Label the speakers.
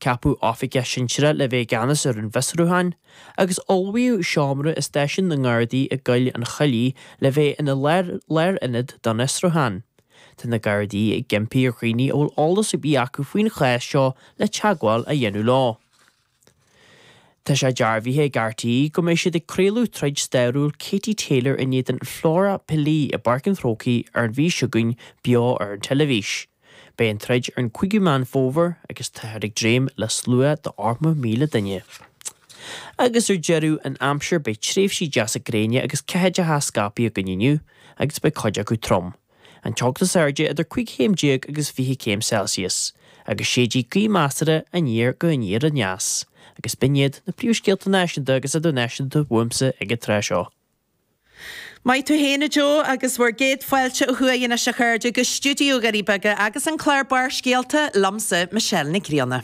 Speaker 1: Ceapadh oifigeach sinsearach le bheith i gceannas ar an bhfiosrúchán, agus ullmhaíodh seomra i stáisiún na nGardaí i gCoill an Choiligh le bheith ina lárionad don fhiosrúchán. Tá na Gardaí ag impí ar dhaoine a bhfuil eolas ar bith acu faoin chás seo le teagmháil a dhéanamh leo. Tá sé dearbhaithe ag RTÉ go mbeidh siad ag craoladh troid stairiúil Katie Taylor in éadan Flora Pili i bPáirc an Chrócaigh ar an mhí seo chugainn beo ar an teilifís. Beidh an troid ar an 5ú Meán Fómhair agus táthar ag dréim le slua de 80,000 duine. Agus ar deireadh, an aimsir, beidh tréimhsí deasa gréine agus ceathaideacha scaipthe againn inniu agus beidh cuid acu trom. An teocht is airde idir 15 chéim agus 20 céim Celsius, agus séidfidh gaoth measartha aniar go aniar aneas. Agus b'in iad na príomhscéalta náisiúnta agus idirnáisiúnta uaimse ag an tráth seo.
Speaker 2: Maith tú féin, a Joe, agus bhur gcéad fáilte ó thuaidh anois, a chairde, go stiúideo Dhoirí Beaga agus an clár Barrscéalta, liomsa, Michelle Nic Grianna.